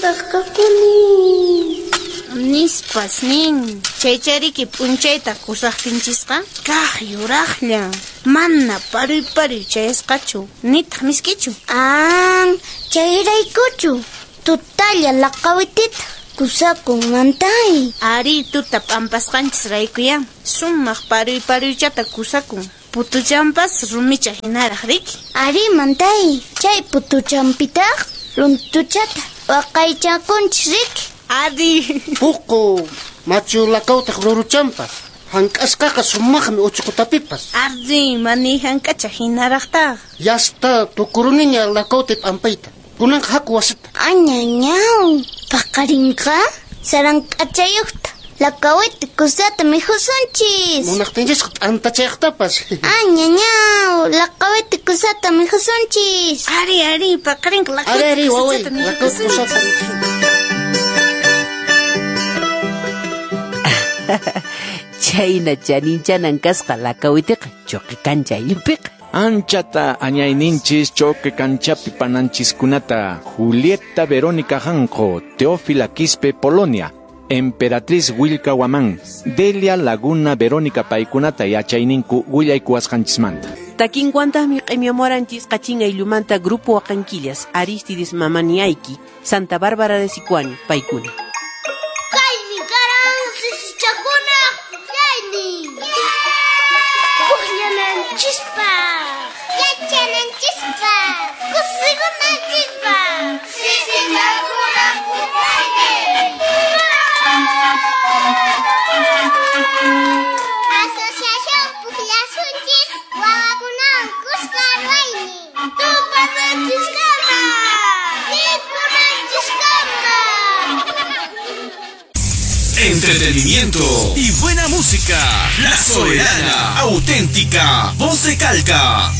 Maypitaq kakuni? Nispas nin. Chaychariki p'unchayta kusaqtinchisqa kaq yuraqlla. Mana paruy paruy chayasqachu, nitaq misk'ichu. An, chayraykuchu tutalla laqawitita kusakun mantay. Ari tuta p'ampasqanchis raykuya sumaq paruy paruychata kusakun. Putuchampas rumicha hinaraq riki. Ari mantay, chay putuchampitaq runtuchata waqaychakunchis riki. Ari. Puqu machu laqawtaq ruruchampas. Hank'asqaqa sumaqmi uchuqutapipas. Ari, mani hank'acha hinaraqtaq. Yasta tukuruniña laqawti p'ampayta. Kunanqa haku wasita. Añañaw, paqarinqa sarank'achayuqta laqawiti kusata mikhusunchis. Munaqtinchisqa t'antachayaqtapas. Añañaw, laqawiti kusata mikhusunchis. Ari, ari, paqarinqa laqawiti Ari, ari, waway, kusata laqawiti kusata mikhusunchis. Chayna chaninchanan kasqa laqawitiqa chuqi kancha ayllupiqa. Anchata añayninchis choque kanchapi pananchiskunata Julieta Verónica Janjo, Teófila Quispe, Polonia, Emperatriz Wilka Huamán, Delia Laguna Verónica paykunata yachayninku willaykuwasqanchismanta. Takinkuantaqmi q'imiamuaranchis qachin ayllumanta Grupo Waqanquillas, Aristides Mamaniayki, Santa Bárbara de Sicuani, paykuna. Kaymi karan sisichakunaq pukllaynin. Pukllananchispaq, yachananchispaq, kusikunanchispaq. Sisichakunaq pukllaynin. Asociación Pukllasunchis wawakunawan kuska ruwaynin. Tupananchiskama, mikhunanchiskama. Entretenimiento y buena música. La Soberana, auténtica, voz de Calca.